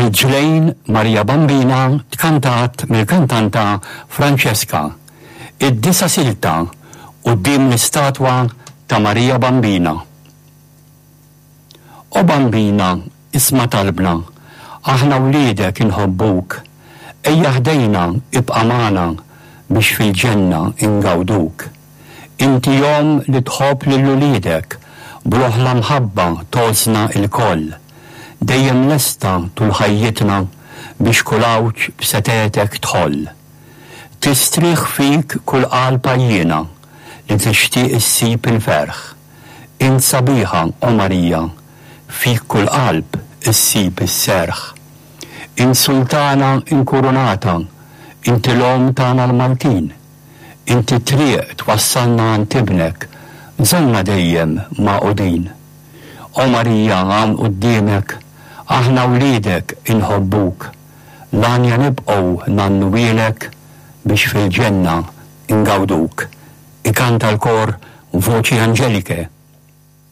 Riġlejn Marija Bambina tkantat mill-kantanta Francesca. Id-disa' silta quddiem l-istatwa ta' Marija Bambina. O Bambina, isma' talbna, aħna wliedek inħobbuk. Ejja ħdejna, ibqa' magħna biex fil-ġenna ingawduk. Inti omm li tħobb lil uliedek, bl-oħla mħabba tgħożżna lkoll. Dejjem lesta tul ħajjitna biex kull għawġ b'setgħetek tħoll. Tistrieħ fik kull qalb għajjiena li tixtieq issib il-ferħ. Int sabiħa, o Marija, fik kull qalb issib is-serħ. Int sultana inkurunata, inti l-omm tagħna l-Maltin. Inti t-triq twassalna għand Ibnek, żommna dejjem magħqudin. O Marija hawn quddiemek, aħna wliedek inħobbuk. L-għanja nibqgħu ngħannuhielek biex fil-ġenna ngawduk. Ikanta l-kor Voci Angeliche.